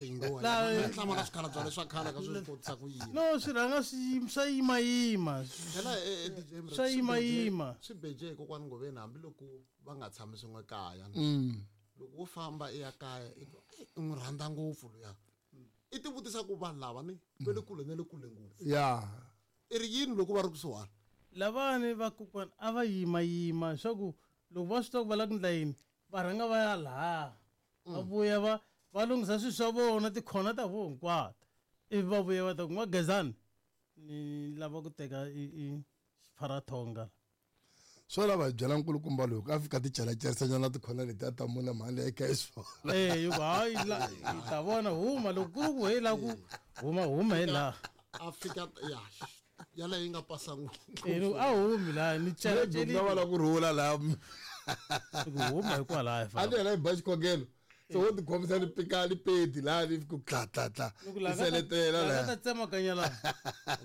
Hlamala swikhalabya leswa khale ka swi kotisa ku yini. No, swi rhanga swi swa yimayima. Phela DJ Mre, Swa yimayima. Swi beje kokwani Ngoveni hambiloko va nga tshami swin'we kaya. Loko wo famba i ya kaya i twa, "Ei, u n'wi rhandza ngopfu luya." I ti vutisa ku vanhu lava ni va le kule na le kule ngopfu. Ya. I ri yini loko va ri kusuhani? Lavani va kokwana a va yimayima leswaku loko va swi tiva ku va lava ku endla yini, va rhanga va ya laha. Va vuya va lunghisa swilo swa vona, tikhona ta vona hinkwato. Ivi va vuya va ta ku, N'wa-Gezani, ni lava ku teka i xipharathonga. Swo lava hi byela nkulukumba loyi ku a fika ti celacerisanyana tikhona leti a ta mona mhani leyi ka xiswona. Eh, yi ku hayi la hi ta vona huma loko ku ri ku he la ku huma huma hi laha. A fika ya yaleyo yi nga pasa ngopfu. Eh, ni ku, a humi laha ni Maybe ku nga va la ku rhula laha. Ku huma hikwalaho hi A famba. ni yena hi ba xikhongelo. So wo tikhomisa ni pika ni peti laha ni ku tla tla tla. Ni ku laha Ni ka ta- seletela laha ka laha. ta tsemakanya laha.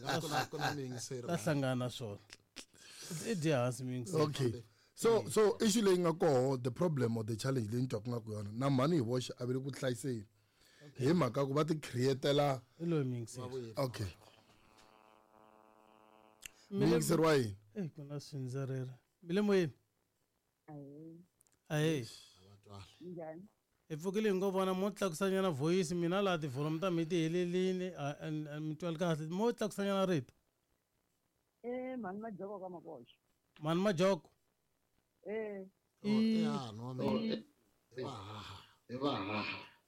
Nga ku na ku na miyingiseri Ta laha. hlangana na swona. I dye hansi miyingiseri. Okay. So issue leyi nga koho, the problem or the challenge leyi ni twaka nga ku yona na mhani hi voxe a ve le ku hlayiseni. Hi mhaka ku va ti createla I loyi miyingiseri. Okay. Miyingiseri wa yini? Eh, ku na swindzerere. Mi le moyeni? Ahee. Njhani? Hi pfukile hi ngo vona mo tlakusanyana voice mina laha ti-volume ta mi ti helelini, a mi twali kahle. Mo tlakusanyana rito. Eh, mhani Majoko ka Makoxa. Mhani Majoko. Eh. I Ya, no, no. I va haha. I va haha.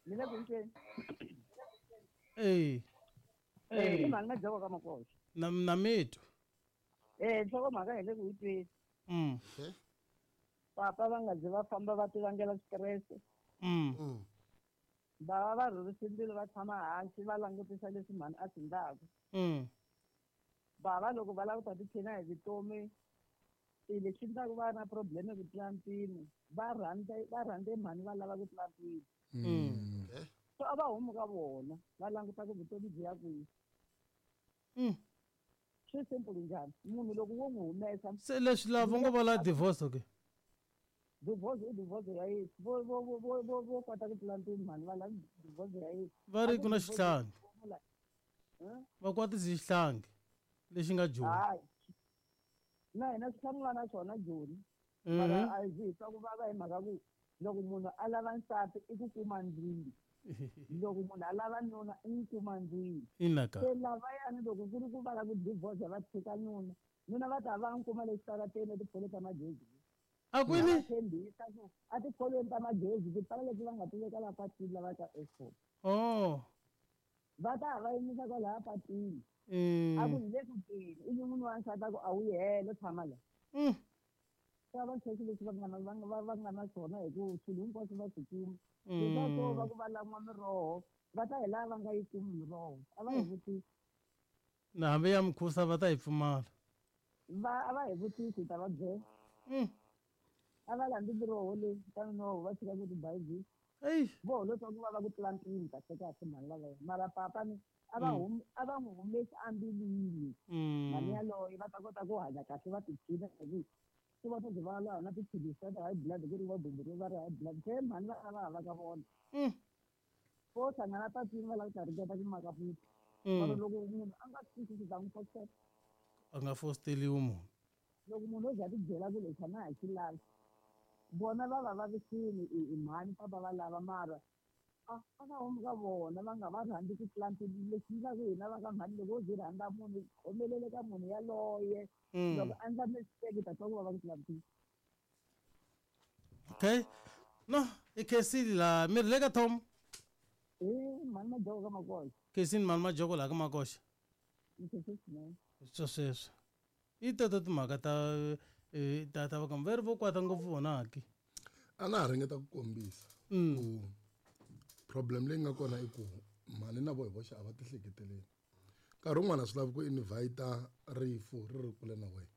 Ni le ku ntweni. Eh. Eh, i mhani Majoko ka Makoxa. Na mi twa. Eh, nhlokomhaka hi le ku yi tweni. Papa va nga zi va famba va ti vangela stress. Va va va rhurisa mbilu va tshama hansi va langutisa leswi mhani a swi endlaka. Bava loko va lava ku ta tiphina hi vutomi, i lexi endlaka va na problem ku tlula mpimo, va rhandze mhani va lava ku tlula mpimo. So a va humi ka vona, va languta ku vutomi byi ya kwihi. Swi simple njhani? Munhu loko wo n'wi humesa Se leswi lava ngo va la divorce okay? Divorce i divorce ya yini? Vo kota ku tlula mpimo mhani va lava divorce ya yini? Va ri ku na A ku divorce xihlangi. ya yini? Va kwatisa xihlangi lexi nga Joni. Hayi. Na hina swi hlangana na swona Joni. Mara a hi twa ku vava hi mhaka ku loko munhu a lava nsati i ku kuma ndlwini. Loko munhu a lava nuna i n'wi kuma ndlwini. Ina ka. Se lavayani loko ku ri ku va lava ku divorce va tshika nuna, nuna va ta va n'wi kuma le xitarateni etipholweni ta magezi. A kwini? Va tshembisa ku a tipholweni ta magezi tipala leti va nga ti veka laha patwini lava ka Eskom. Oh. Va ta va yimisa kwalaya patwini. A ku hi le ku teni, ivi munhu wa nsati a ku a wu yi helo tshama la. Swa va sweswi leswi va nga na, va nga, va nga na swona hi ku swilo hinkwaswo va swi kuma. Leswaku va ku va lan'wa miroho, va ta hi laha va nga yi kumi miroho. A va hi vutisi. Na hambi ya mukhusa va ta yi pfumala. Va, a va hi vutisi, hi ta va byela. A va landzi miroho leyi, ta noho va tshika ku tibayizisa. Ei. Vo holotsa ku va va ku tlula mpimo kahle kahle mhani lavaya. Mara papa ni a va hum-, a va n'wi humesi embilwini. Mhani yaloye va ta kota ku hanya kahle va tiphina hi ku swi va swi va laha na tiphilisi ta high blood ku ri va bumburiwe va ri high blood. Se mhani va va hava ka vona. Vo hlangana patwini va lava ku ta ringeta ku maka futhi. Mara loko munhu a nga swi twisisi ta n'wi fositela. A nga fositeliwi munhu. Loko munhu o za a ti byela ku lexi a na ha xi lavi. Vona va va vavisile i mhani papa va lava mara a va humi ka vona va nga va rhandzi ku tlula mpimo. Lexi endlaka hina va ka mhani loko wo ze rhandza munhu khomelele ka munhu yaloye. Loko a endla mistake ta twa ku vava ku tlula mpimo. Okay. No, i khensile laha. Mi ri le ka Tom? Eh, mhani Majoko ka Makoxa. Khensile mhani Majoko laha ka Makoxa. Ni khensile swinene. Swo sweswo. I teto timhaka ta ta va ka va ri vo kwata ngopfu vona ki. A na ha ringeta ku kombisa ku problem leyi nga kona i ku mhani na vo hi voxe a va tihleketeleli. Nkarhi wun'wana a swi lavi ku invite rifu ri ri kule na wena.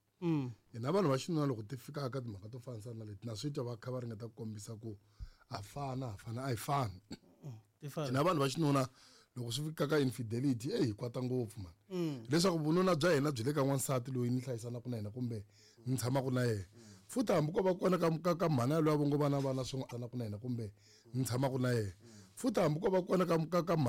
Hina vanhu va xinuna loko ti fika ka timhaka to fanisa na leti na swi twa va kha va ringeta ku kombisa ku ha fana, ha fana, a hi fani. Ti fana. Hina vanhu va xinuna loko swi fika ka infidelity, hi kwata ngopfu mani. Leswaku vununa bya hina byi le ka n'wansati loyi ni hlayisanaka na yena kumbe ni tshamaka na yena. Futhi hambi ko va kona ka mhani yaloye a vo ngo va na vana swin'we, tsanaka na yena kumbe ni tshamaka na yena. Futhi hambi ko va kona ka mhani